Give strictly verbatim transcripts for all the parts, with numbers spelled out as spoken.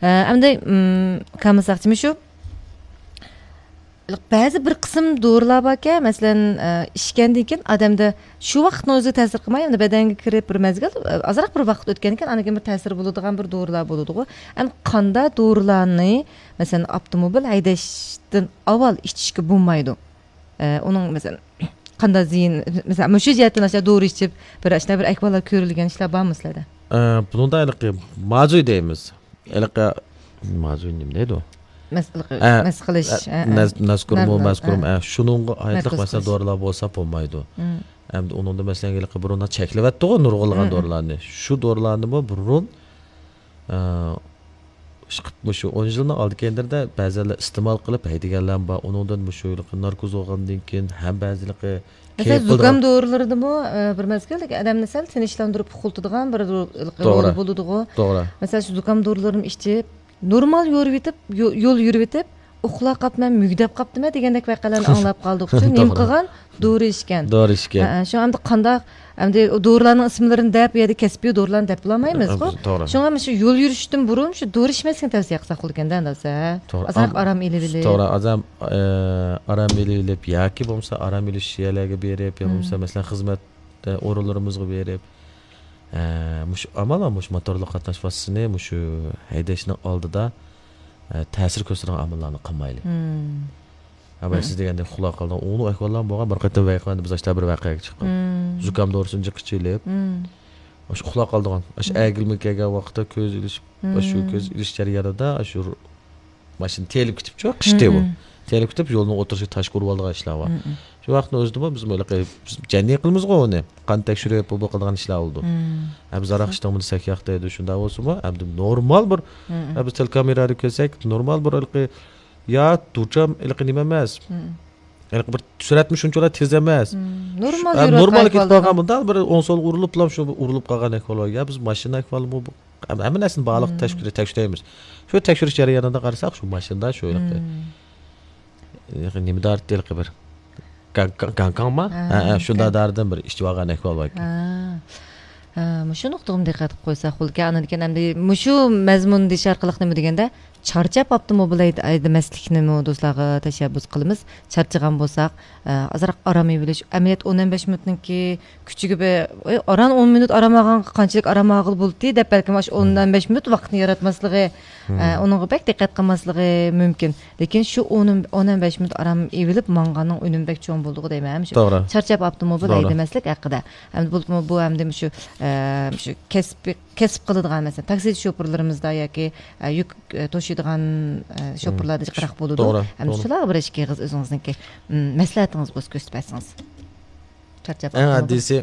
ئەمدى كامىل ساقچىمۇ شۇ، بەزى بىر قىسىم دورىلار باركەن، مەسىلەن، ئىچكەندىن كېيىن ئادەمدە شۇ ۋاقىتنىڭ ئۆزىگە تەسىر قىلماي، ئەمدى بەدەنگە كىرىپ بىر مەزگىل، ئازراق بىر ۋاقىت ئۆتكەندىن كېيىن ئاندىن كېيىن بىر تەسىرى بولىدىغان بىر دورىلار بولىدىغۇ. ئەمدى قانداق دورىلارنى، مەسىلەن، ئاپتوموبىل ھەيدەشتىن ئاۋۋال ئىچىشكە بولمايدۇ؟ ئۇنىڭ، مەسىلەن، قانداق زىيىن، مەسىلەن، مۇشۇ جەھەتتىن ئاشۇنداق دورا ئىچىپ، بىر ئاشۇنداق بىر ئەھۋاللار كۆرۈلگەن ئىشلار بارمۇ سىلەردە؟ بۇنىڭدا ھېلىقى مازۇي دەيمىز. ھېلىقى مازۇي نېمە دەيدۇ؟ مەس-، ھە، مەس قىلىش، ھە، ھە، ھە. نەز-، نەزكۇرمۇ، نەز-، مەزكۇرمۇ، ھە. ھە، شۇنىڭغا ئائىتلىق، نەركوز مەسىلەن، قىلىش. دورىلار بولسا بولمايدۇ. مم. ئەمدى ئۇنىڭدا، مەسىلەن، ھېلىقى بۇرۇندا چەكلىۋەتتىغۇ نۇرغۇنلىغان مم. دورىلارنى. شۇ دورىلارنىمۇ بۇرۇن، ئە، ئىشقىلىپ مۇشۇ ئون يىلنىڭ ئالدى كەينىلىرىدە بەزىلەر ئىستېمال قىلىپ ھەيدىگەنلەرمۇ بار. ئۇنىڭدىن مۇشۇ ھېلىقى ناركوز بولغاندىن كېيىن ھەم بەزى ھېلىقى مەسىلەن، كەيپ زۇكام بولىدىغان دورىلىرىدىمۇ، ئە، بىر مەزگىلدە ئادەمنى سەل تىنچلاندۇرۇپ ئۇخلىتىدىغان بىر رو-، رولى توغرا. بولىدىغۇ. توغرا. مەسىلەن، شۇ زۇكام دورىلىرىمۇ ئىچىپ، نورمال يورۇۋېتىپ، يو-، يول يۈرۈۋېتىپ، ئۇخلاپ قاپتىمەن، مۈگدەپ قاپتىمەن دېگەندەك ۋەقەلەرنى ئاڭلاپ قالدۇق. شۇ نېمە توغرا. قىلغان؟ دورا ئىچكەن. دورا ئىچكەن. ھە، ھە، شۇ ئەمدى قانداق، ئەمدى ئۇ دورىلارنىڭ ئىسىملىرىنى دەپ، ئۇ يەردە كەسپىي دورىلارنى دەپ بولالمايمىزغۇ. ھە، توغرا. شۇڭا مانا شۇ يول يۈرۈشتىن بۇرۇن شۇ دورا ئىچمەسلىكنى تەۋسىيە قىلساق بولىدىكەن-دە، ئەمدى. توغرا. ئازراق ئام-، ئارام ئېلىۋېلىپ. توغرا، ئازام-، ئە، ئارام ئېلىۋېلىپ ياكى بولمىسا ئارام ئېلىش يەرلەرگە بېرىپ، يا بولمىسا، مم. مەسىلەن، خىزمەت، ئە، ئورۇنلىرىمىزغا بېرىپ، ئە، مۇشۇ ئامال مۇشۇ موتورلۇق قاتناش ۋاسىتىسىنى مۇشۇ ھەيدەشنىڭ ئالدىدا، ئە، تەسىر كۆرسىتىدىغان ئاماللارنى قىلمايلى. مم. ھە، مم. سىز دېگەندەك ئۇخلاپ قالدىڭ. ئۇنىڭ ئەھۋاللارمۇ بولغان، بىر قېتىم ۋەقەدە بىز ئاشتا بىر ۋەقەگە چىققان. مم. زۇكام دورىسىنى جىق ئىچىۋېلىپ، مم. ئاشۇ ئۇخلاپ قالىدىغان. ئاشۇ مم. ئەگىلمە كەلگەن ۋاقىتتا كۆز ئېلىش، ئاشۇ مم. كۆز ئېلىش جەريانىدا ئاشۇ ماشىنا تېيىلىپ كېتىپچۇ، قىشتى بۇ. مم. تېيىلىپ كېتىپ، يولنىڭ ئوتتۇرىسىغا تاش ئۇرۇۋالىدىغان ئىشلار بار. مم. شۇ ۋاقىتنىڭ ئۆزىدىمۇ بىز ھېلىقى، بىز جەننى قىلىمىزغۇ ئۇنى. قان تەكشۈرۈپ، بۇ، بۇ قىلىدىغان ئىشلار بولىدۇ. مم. ھە، بىز ھاراق ئىچتىڭمۇ دېسەك، ياق دەيدۇ، شۇنداق بولسىمۇ، ئەمدى نورمال بىر، مم. ھە، بىز تېلېكامېرادىن كۆرسەك، نورمال بىر ھېلىقى، يا دۇچام ھېلىقى نېمە ئەمەس. مم. ھېلىقى بىر سۈرئەتمۇ شۇنچىلا تېز ئەمەس. مم. نورمال ھە، يۈرۈۋاتقان نورمال كېتىپ ئەھۋالدا. بارغان، بۇنداق بىر ئوڭ سول ئۇرۇلۇپلا شۇ ئۇرۇلۇپ قالغان ئەھۋال بار. يا بىز ماشىنا ئەھۋالىمۇ بۇ، ھەم-، ھەممە نەرسىنى بارلىق مم. تەكشۈر-، تەكشۈرەيمىز. شۇ تەكشۈرۈش جەريانىدا قارىساق، شۇ ماشىنىدا شۇ ھېلىقى، مم. ھېلىقى نېمە دارىتى ھېلىقى بىر گاڭ-، گاڭ-، گاڭكاڭما؟ ھە، ھە، ھە، شۇنداق گاڭ-، دارىدىن بىر ئىچىۋالغان ئەھۋال باركەن. ھە. ھە، مۇشۇ نۇقتىغىمۇ دىققەت قىلىپ قويساق بولىدىكەن. ئاندىن كېيىن ئەمدى مۇشۇ مەزمۇننى دېيىش ئارقىلىق نېمە دېگەندە، چارچاپ ئاپتوموبىل ھەيدە-، ھەيدىمەسلىكنىمۇ دوستلارغا تەشەببۇس قىلىمىز. چارچىغان بولساق، ئە، ئازراق ئارام ئېلىۋېلىش، ئەمەلىيەتتە ئون ئون بەش مىنۇتنىڭكى كۈچىگە بە-، ئەي، ئاران ئون مىنۇت ئارام ئالغانغا قانچىلىك ئارام ئالغىلى بولدى دەپ، بەلكىم ئاشۇ ئون ئون بەش مىنۇت ۋاقىتنى ياراتماسلىقى، ئە، ئۇنىڭغا بەك دىققەت قىلماسلىقى مۇمكىن. لېكىن شۇ ئون، ئون ئون بەش مىنۇت ئارام ئېلىپ ماڭغاننىڭ ئۈنۈمى بەك چوڭ بولىدىغۇ دەيمەن. ھەم شۇ توغرا. چارچاپ ئاپتوموبىل توغرا. ھەيدىمەسلىك ھەققىدە. ئەمدى بولۇپمۇ بۇ ئەمدى مۇشۇ، ئە، مۇشۇ كەسپىي كەسىپ قىلىدىغان، مەسىلەن، تاكسى شوپۇرلىرىمىزدا ياكى، ئە، يۈك، ئە، توشۇيدىغان، ئە، شوپۇرلاردا جىقراق بولىدۇ. توغرا، ئەمدى توغرا. شۇلارغا بىر ئىككى ئېغىز ئۆزىڭىزنىڭكى، ئم، مەسلىھەتىڭىز بولسا كۆرسىتىپ بەرسىڭىز. چارچاپ ئەڭ قالدىڭىزمۇ؟ ئاددىيسى،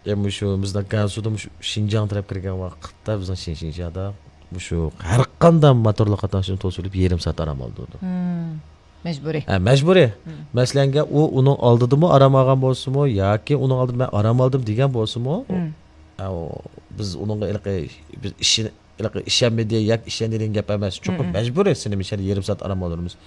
يا، مۇشۇ بىزنىڭ گەنسۇدا مۇشۇ شىنجاڭ تەرەپ كىرگەن ۋاقىتتا بىزنىڭ شىن-، شىنجاڭدا مۇشۇ ھەر قانداق موتورلۇق قاتناشنى توسۇۋېلىپ يېرىم سائەت ئارام ئالدۇردۇق. مم. مەجبۇرىي. ھە، مەجبۇرىي. مم. مەسىلەنگە، ئۇ ئۇنىڭ ئالدىدىمۇ ئارام ئالغان بولسىمۇ ياكى ئۇنىڭ ئالدىدا مەن ئارام ئالدىم دېگەن بولسىمۇ، مم. ئە، ئۇ، بىز ئۇنىڭغا ھېلىقى، بىز ئىشىن-، ھېلىقى ئىشەنمىدى ياكى ئىشەندى دېگەن گەپ ئەمەس. چوقۇم مم. مەجبۇرىي سېنى مۇشۇ يەردە يېرىم سائەت ئارام ئالدۇرىمىز.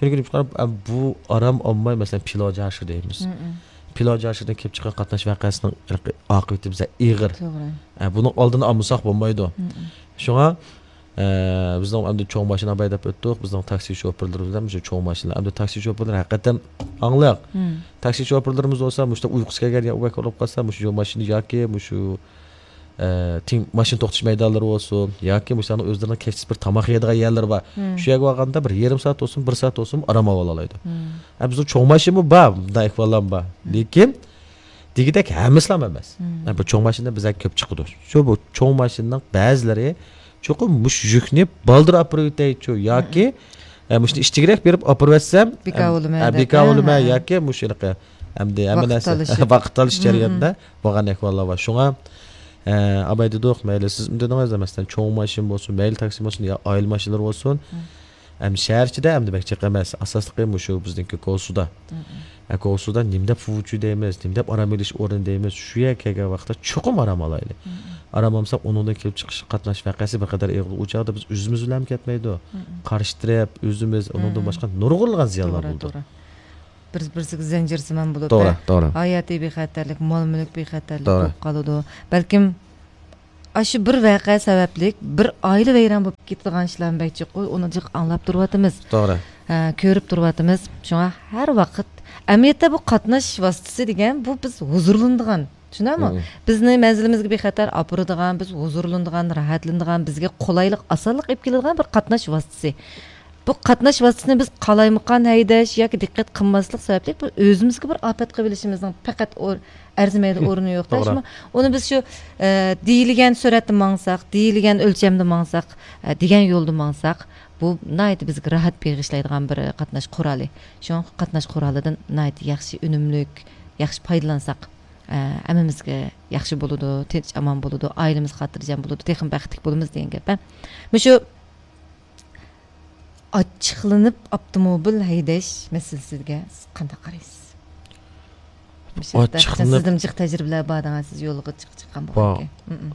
چۈنكى بۇ ئارام ئالماي، مەسىلەن، پىلو جاشى دەيمىز. مم. پىلو جاشىدىن كېلىپ چىققان قاتناش ۋەقەسىنىڭ ھېلىقى ئاقىۋىتى بىزدە ئېغىر. توغرا. ئە، بۇنىڭ ئالدىنى ئالمىساق بولمايدۇ. مم. شۇڭا، ئە، بىزنىڭ ئەمدى چوڭ ماشىنا ھەيدەپ ئۆتتۇق. بىزنىڭ تاكسى شوپۇرلىرىمىز ھەم شۇ چوڭ ماشىنا. ئەمدى تاكسى شوپۇرلىرى ھەقىقەتەن ئاڭلىق. مم. تاكسى شوپۇرلىرىمىز بولسا، مۇشۇنداق ئۇيقۇسى كەلگەن يا ئۇ بولۇپ قالسا، مۇشۇ يول ماشىنا ياكى مۇشۇ، ئە، تىڭ ماشىنا توختىتىش مەيدانلىرى بولسۇن، ياكى مۇشۇلارنىڭ ئۆزلىرىنىڭ كەچلىك بىر تاماق يەيدىغان يەرلىرى بار. مم. شۇ يەرگە بارغاندا بىر يېرىم سائەت بولسۇن، بىر سائەت بولسۇن ئارام ئالالايدۇ. مم. ئە، بىزنىڭ چوڭ ماشىنىمۇ بار، مۇنداق ئەھۋاللارمۇ بار. مم. لېكىن دېگۈدەك ھەممىسىلا ئەمەس. مم. ھە، بۇ چوڭ ماشىنا بىزگە كۆپ چىقىدۇ. شۇ بۇ چوڭ ماشىنىنىڭ بەزىلىرى چوقۇم مۇشۇ يۈكنى بالدۇر ئاپىرىۋېتەيچۇ ياكى، مم. ھە، مۇشۇنى ئىچىگىرەك بېرىپ ئاپىرىۋەتسەم، بىكار ھە، بولىمەن ھە، دەپ، بىكار ھە، بولىمەن ھە. ياكى مۇشۇ ھېلىقى ئەمدى ھەممە ۋاقىت نەرسە تالىشىپ. ۋاقىت تالىشىش مم، جەريانىدا مم. بولغان ئەھۋاللار بار. شۇڭا، ھە، ئاباي دېدۇق، مەيلى سىز دېدىڭىز، مەسىلەن، چوڭ ماشىنا بولسۇن، مەيلى تاكسى بولسۇن، يا ئائىلە ماشىنىلىرى بولسۇن، مم. ئەمدى شەھەر ئىچىدە ئەمدى بەك جىق ئەمەس. ئاساسلىقى مۇشۇ بىزنىڭكى كوسۇدا. مم. ئە، كوسۇدا نېمە دەپ فۇچۇ دەيمىز، نېمە دەپ ئارام ئېلىش ئورنى دەيمىز. شۇ يەرگە كەلگەن ۋاقىتتا چوقۇم ئارام ئالايلى. مم. ئارام ئالمىساق، ئۇنىڭدىن كېلىپ چىقىش قاتناش ۋەقەسى بىر قەدەر ئېغىر. ئۇ چاغدا بىز ئۆزىمىز بىلەن كەتمەيدۇ. مم. قارشى تەرەپ، ئۆزىمىز، ئۇنىڭدىن مم. باشقا نۇرغۇنلىغان زىيانلار توغرا، بولىدۇ. توغرا. بىر-، بىرسىگە زەنجىرسىمان بولۇپ، توغرا، ھە، توغرا. ھاياتىي بىخەتەرلىك، مال-مۈلۈك بىخەتەرلىك توغرا. بولۇپ قالىدۇ. بەلكىم ئاشۇ بىر ۋەقە سەۋەبلىك بىر ئائىلە ۋەيران بولۇپ كېتىدىغان ئىشلارمۇ بەك جىق، ئۇنى جىق ئاڭلاپ تۇرۇۋاتىمىز. توغرا. ھە، كۆرۈپ تۇرۇۋاتىمىز. شۇڭا ھەر ۋاقىت، ئەمەلىيەتتە بۇ قاتناش ۋاسىتىسى دېگەن، بۇ بىز ھۇزۇرلىنىدىغان، چۈشىنەمۇ؟ مم. بىزنى مەنزىلىمىزگە بىخەتەر ئاپىرىدىغان، بىز ھۇزۇرلىنىدىغان، راھەتلىنىدىغان، بىزگە قولايلىق، ئاسانلىق ئېلىپ كېلىدىغان بىر قاتناش ۋاسىتىسى. بۇ قاتناش ۋاسىتىسىنى بىز قالايمىقان ھەيدەش ياكى دىققەت قىلماسلىق سەۋەبلىك بىر ئۆزىمىزگە بىر ئاپەت قىلىۋېلىشىمىزنىڭ پەقەت ئور-، ئەرزىمەيدۇ، ئورنى يوق. توغرا. شۇڭا ئۇنى بىز شۇ، ئە، دېيىلگەن سۈرئەتتە ماڭساق، دېيىلگەن ئۆلچەمدە ماڭساق، ئە، دېگەن يولدا ماڭساق، بۇ ناھايىتى بىزگە راھەت بېغىشلايدىغان بىر قاتناش قورالى. شۇڭا قاتناش قورالىدىن ناھايىتى ياخشى ئۈنۈملۈك، ياخشى پايدىلانساق، ئە، ھەممىمىزگە ياخشى بولىدۇ، تىنچ ئامان بولىدۇ، ئائىلىمىز خاتىرجەم بولىدۇ، تېخىمۇ بەختلىك بولىمىز دېگەن گەپ. ھە، مۇشۇ ئاچچىقلىنىپ ئاپتوموبىل ھەيدەش مەسىلىسىگە سىز قانداق قارايسىز؟ مۇشۇ ھەقتە ئاچچىقلىنىپ سىزدىمۇ جىق تەجرىبىلەر بار دەڭە، سىز يولغا جىق چىققان بار. بولغانكەن. مم.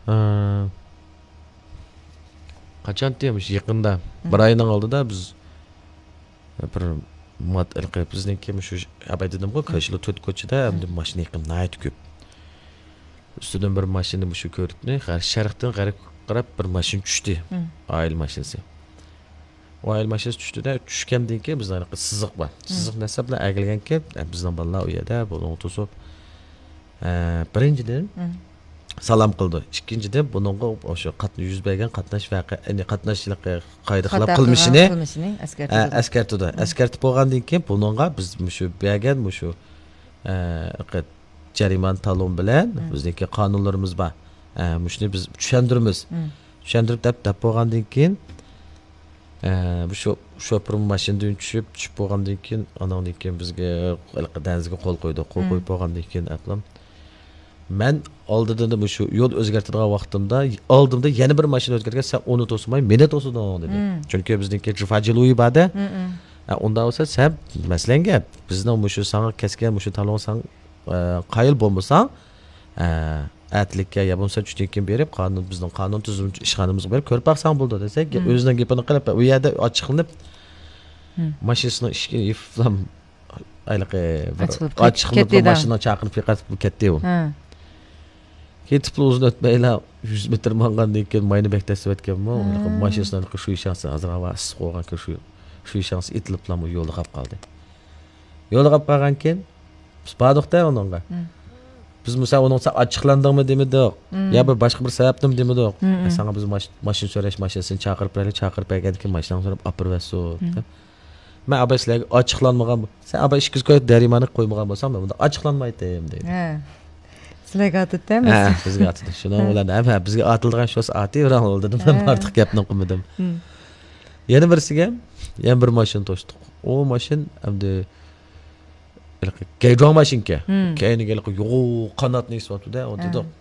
ئە، قاچانتى مۇشۇ يېقىندا، مم، بىر ئاينىڭ ئالدىدا بىز بىر مات-، ھېلىقى بىزنىڭكى مۇشۇ ئاباي دېدىمغۇ، مم، كاشىلا تۆت كوچىدا، مم، ئەمدى ماشىنا ئېقىمى ناھايىتى كۆپ. ئۈستىدىن بىر ماشىنا مۇشۇ كۆۋرۈكنى غەر-، شەرقتىن غەربكە قاراپ بىر ماشىنا چۈشتى. مم. ئائىلە ماشىنىسى. ئۇ ئائىلە ماشىنىسى چۈشتى-دە، چۈشكەندىن كېيىن بىزنىڭ ھېلىقى سىزىق بار. مم. سىزىق نەرسە بىلەن ئەگىلگەنكى، بىزنىڭ بالىلار ئۇ يەردە بۇلۇڭ توسۇپ، ئە، بىرىنچىدىن، مم، سالام قىلىدۇ. ئىككىنچىدىن، بۇنىڭغا ئوشۇ قات-، يۈز بەرگەن قاتناش ۋەقە، يەنى قاتناش ھېلىقى قايدا خىلاپ خاتا قىلغان قىلمىشىنى، قىلمىشىنى ئە، ئەسكەرتىدۇ. ئەسكەرتىدۇ. مم. ئەسكەرتىپ بولغاندىن كېيىن، بۇنىڭغا بىز مۇشۇ بەرگەن مۇشۇ، ئە، جەرىمانە تالون بىلەن، مم، بىزنىڭكى قانۇنلىرىمىز بار. ئە، مۇشۇنى بىز چۈشەندۈرىمىز. مم. چۈشەندۈرۈپ دەپ، دەپ بولغاندىن كېيىن، ئە، بۇ شو-، شوپۇر ماشىنىدىن چۈشۈپ، چۈشۈپ بولغاندىن كېيىن، ئاندىن كېيىن بىزگە ھېلىقى دەنزىگە قول قويدى. قول، مم، قويۇپ بولغاندىن كېيىن، ئەپلام، مەن ئالدىدا مۇشۇ يول ئۆزگەرتىدىغان ۋاقتىمدا، ئالدىمدا يەنە بىر ماشىنا ئۆتكەندىكىن، سەن ئۇنى توسماي، مېنى توسىدىڭ، دېدى. مم. چۈنكى بىزنىڭكى جۇفا جىلۇيى بار-دە. مم، مم. ئە، ئۇنداق بولسا، سەن، مەسىلەن گەپ، بىزنىڭ مۇشۇ ساڭا كەسكەن مۇشۇ تالون ساڭا، ئە، قايىل بولمىساڭ، ئە، ئەتىلىككە يا بولمىسا چۈشتىن كېيىن بېرىپ، قانۇن، بىزنىڭ قانۇن تۈزۈم ئىشخانىمىزغا بېرىپ كۆرۈپ باقساڭ بولىدۇ، دېسە، مم، ئۆزىنىڭ گېپىنى قىلىپ، ئۇ يەردە ئاچچىقلىنىپ، مم، ماشىنىسىنىڭ ئىشىكىنى يېپىپلا، ھېلىقى بىر ئاچچىقلىنىپ ئاچچىقلىنىپ، كەتتى بىر دە. ماشىنىنى چاقىرىپ يىقىتىپ كەتتى ئۇ. ھە. كېتىپلا ئۇزۇن ئۆتمەيلا، يۈز مېتىر ماڭغاندىن كېيىن ماينى بەك تەسلىۋەتكەنمۇ، ھە، ماشىنىسىنىڭ شۈيشاڭسى، ھازىر ھاۋا ئىسسىق بولغانكەن، شۈ-، شۈيشاڭسى ئېتىلىپلا يولدا قاپ قالدى. يولدا قاپ قالغانكېيىن، بىز باردۇق-دە ئۇنىڭغا. مم. بىز مۇسا ئۇنىڭغا سەن ئاچچىقلاندىڭمۇ دېمىدۇق. مم. يا بىر باشقا بىر سەۋەبنىمۇ دېمىدۇق. مم، مم. ساڭا بىز ماش-، ماشىنا سورەش، ماشىنىسىنى چاقىرىپ بېرەيلى، چاقىرىپ بەرگەندىن كېيىن ماشىناڭنى سوراپ ئاپىرىۋەتسۇن، مم، دېدىم. مەن ئاباي سىلەرگە ئاچچىقلانمىغان بو-، سەن ئاباي ئىككى يۈز كوي جەرىمانە قويمىغان بولساڭ، مەن بۇنداق ئاچچىقلانمايتتىم، دېدى. ھە. سىلەرگە ئاتىدىتە ھە، بىزگە ئاتىدۇ. شۇنىڭ ھە. بىلەن ھەم، ھە، بىزگە ئاتىلىدىغان شۇ ئاتى بىراڭ بولدى دېدىم. مەن ھە. ئارتۇق گەپنى قىلمىدىم. مم. يەنە بىرسىگە، يەنە بىر ماشىنا توشتۇق. ئۇ ماشىنا ئەمدى ھېلىقى گەيجۇاڭ ماشىنىكەن. مم. كەينىگە ھېلىقى يوغان قاناتنى ئېسىۋاتىدۇ-دە، ئۋاتىدۇ. ھە.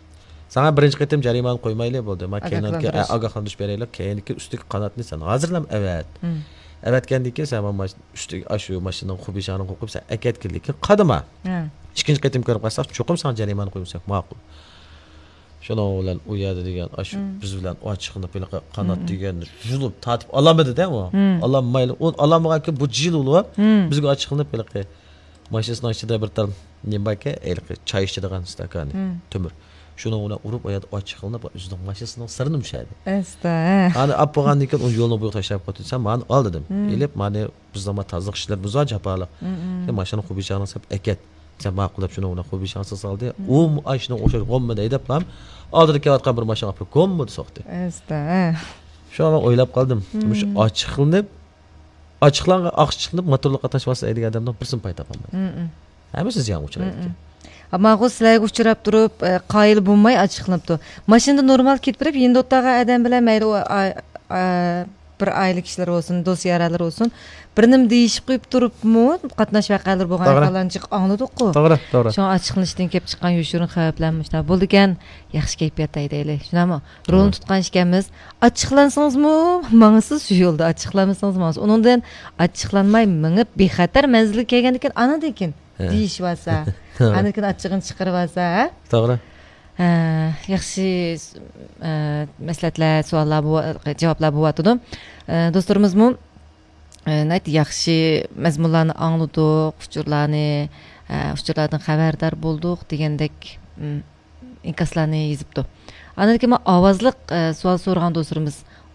سانا بىرىنچى قېتىم جەرىمانە قويمايلى بولدى. ما كېيىنكى، ئاگاھلاندۇرۇش. ئە، ئاگاھلاندۇرۇش بېرەيلى. كېيىنكى ئۈستىدىكى قاناتنى سەن ھازىرلا ئەۋەت. مم. ئەۋەتكەندىن كېيىن سەن ما-، ماش-، ئۈستىگە، ئاشۇ ماشىنىنىڭ خۇبىشاڭنى قوقۇپ سەن ئەكەتكىنلىكىن قادىما. ھە. ئىككىنچى قېتىم كۆرۈپ قالساق، چوقۇم ساڭا جەرىمانە قويمىساق ماقۇل. شۇنىڭ بىلەن ئۇ يەردە دېگەن، ئاشۇ مم. بىز بىلەن ئاچچىقلىنىپ ھېلىقى قانات مم. دېگەن يۇلۇپ تارتىپ ئالالمىدى-دە ئۇ. مم. ئالالمايلا، ئۇ ئالالمىغانكەن بۇ جىل بولۇپ، مم. بىزگە ئاچچىقلىنىپ ھېلىقى ماشىنىسىنىڭ ئىچىدە بىر تال نېمە باركەن، ھېلىقى چاي ئىچىدىغان ستاكانى، مم. تۆمۈر. شۇنىڭ بىلەن ئۇرۇپ، ئۇ يەردە ئاچچىقلىنىپ، ئۆزىنىڭ ماشىنىسىنىڭ سىرىنى مۇشەدى. ئەستا، ھە. ئانى ئاپ بولغاندىن كېيىن ئۇنى يولنىڭ بويىغا تاشلاپ قويدۇم. سەن مانى ئال دېدىم. مم. ئېلىپ، مانى بىزنىڭ تازىلىق ئىشلىرىمىز بار، جاپالىق. مم، مم. سەن ماشىنىنى خۇبىشاڭنى سېلىپ ئەكەت. سەن ماقۇل دەپ شۇنىڭ بىلەن خۇبىشاڭسىز سالدى. مم. ئۇ ئاشۇنىڭ ئوخشاش غوممىدە ھەيدەپلا ئالدىدا كېلىۋاتقان بىر ماشىنىغا ئاپىرىپ گوممىدە سوقتى. ئەستا، ھە. شۇڭا مەن ئويلاپ قالدىم. مم. مۇشۇ ئاچچىقلىنىپ، ئاچچىقلانغان، ئاچچىقلىنىپ موتورلۇق قاتناش ۋاسىتە ھەيدىگەن ئادەمنىڭ بىرسىنى پاي تاپالمايدۇ. مم، مم. ھەممىسى زىيانغا ئۇچرايدىكەن. مم، مم. ئەمما ئۇ سىلەرگە ئۇچراپ تۇرۇپ، ئە، قايىل بولماي ئاچچىقلىنىپتۇ. ماشىنىدا نورمال كېتىپ بېرىپ، يېنىدا ئولتۇرغان ئادەم بىلەن مەيلى ئۇ، ئا-، ئا-، بىر ئائىلە كىشىلىرى بولسۇن، دوست يارلىرى بولسۇن، بىر نېمە دېيىشىپ قويۇپ تۇرۇپمۇ قاتناش ۋەقەلىرى بولغان توغرا. ئەھۋاللارنى جىق ئاڭلىدۇققۇ. توغرا، توغرا. شۇڭا ئاچچىقلىنىشتىن كېلىپ چىققان يوشۇرۇن خەۋپلەرمۇ شۇنداق بولىدىكەن. ياخشى كەيپىياتتا ھەيدەيلى. شۇنداقمۇ؟ رولنى توغرا. تۇتقان ئىكەنمىز. ئاچچىقلانسىڭىزمۇ ماڭىسىز شۇ يولدا، ئاچچىقلانمىسىڭىزمۇ ماڭىسىز. ئۇنىڭدىن ئاچچىقلانماي مېڭىپ، بىخەتەر مەنزىلگە كەلگەندىن كېيىن، ئاندىن كېيىن ھە. دېيىشىۋالسا، ھە. ئاندىن كېيىن ئاچچىقىنى چىقىرىۋالسا، ھە؟ توغرا. ھە، ياخشى، ئە، مەسلىھەتلەر، سوئاللار بو-، جاۋابلار بولۇۋاتىدۇ. ئە، دوستلىرىمىزمۇ، ئە، ناھايىتى ياخشى مەزمۇنلارنى ئاڭلىدۇق، ئۇچۇرلارنى، ئە، ئۇچۇرلاردىن خەۋەردار بولدۇق دېگەندەك، ئىم، ئىنكاسلارنى يېزىپتۇ. ئاندىن كېيىن مانا ئاۋازلىق، ئە، سوئال سورىغان دوستلىرىمىز